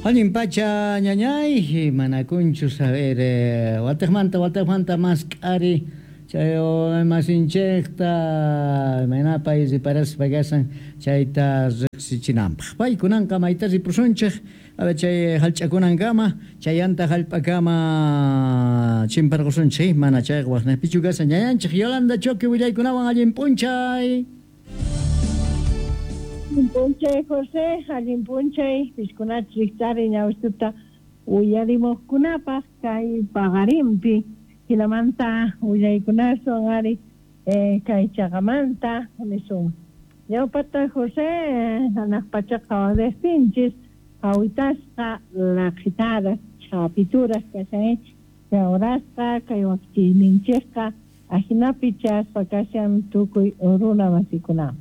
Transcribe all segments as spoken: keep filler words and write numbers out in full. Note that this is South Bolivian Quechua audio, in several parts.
Allin pacha ñañay, manakunchu saber eh, watejmanta watejmanta mask'ari chay masinchejta imaynapay riparaspa kasan chayta riqsichinanpaq. Paykunanqa mayta ripusunchej chay hallch'akunankama chayanta hallp'akama chimparqusunchej mana chayqa waqnaypichu kasan ñañanchej Yolanda Choque willaykunawan allin p'unchay. Allin p'unchay José, allin p'unchay piskunachus riqch'ari ñawistuta uyarimuqkunapaq kay paqarinpi hinamanta willaykunaswan ari eh, kay chaqamanta nisun. Ñawpata José hanaq pachaqa waqtinchis hawitasqa laqhitaras chapituras kashan chawrasqa kay wakchiyninchikqa ahinapi chaspa kashan tukuy runa masikunaman.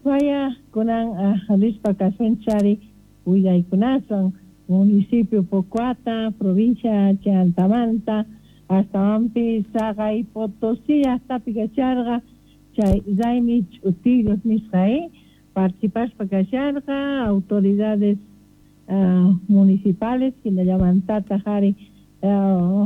Vaya kunan rispa kasunchari willaykunaswan municipio Pocoata, provincia Chantamanta, astawanpi Saqay Potosí llaqtapi kasharqa chay raymi ch'utillos nisqa eh participaspa kasharqa autoridades uh, municipales hinallamantataq ari uh,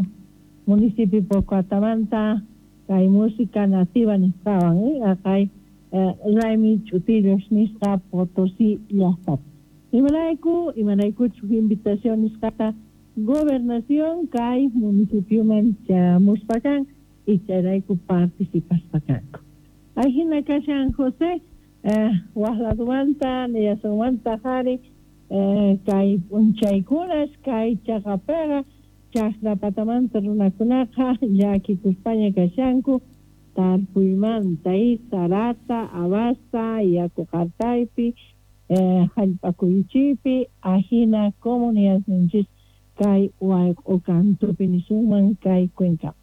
municipio Pocoatamanta kay música nativa nisqawan eh aqay uh, raymi ch'utillos nisqa Potosí llaqtapi. Imarayku imaraykuchu invitación nisqata gobernación kay municipioman chamuspa kan y chayrayku participaspa kanku. Ahina kashan José eh, waq ladumanta niyasumanta qhari eh, kay p'unchaykunas kay chaqapiqa chaqrapatamanta runakunaqa llakikuspaña kashanku tarpuymanta y sarata, abasta, yaku qartaypi eh, hallp'akuychipi ahina comunidadninchis kay wayq'u kantupi nisunman kay cuencapi.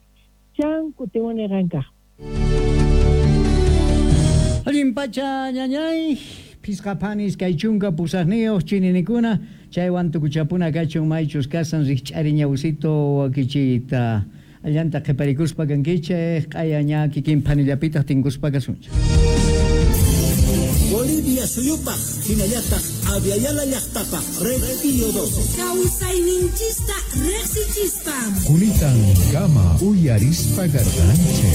Chan kutimuni qankaq. Allin pacha ñañay, pisqa phanis kay chunka pusaqniyuq chininikuna chaywan tukuchapuna kachun maychus kasan rikch'ari ñawsito wakichiyta allanta qhiparikuspa kankichej q'aya ña kikin phanillapitaq tinkuspa kasunchik. Bolivia suyupaq hinallataq Aviala llaqtapaq Red Pío doce. Kawsayninchista riqsichispa. Kunitan kama uyarispa garganche.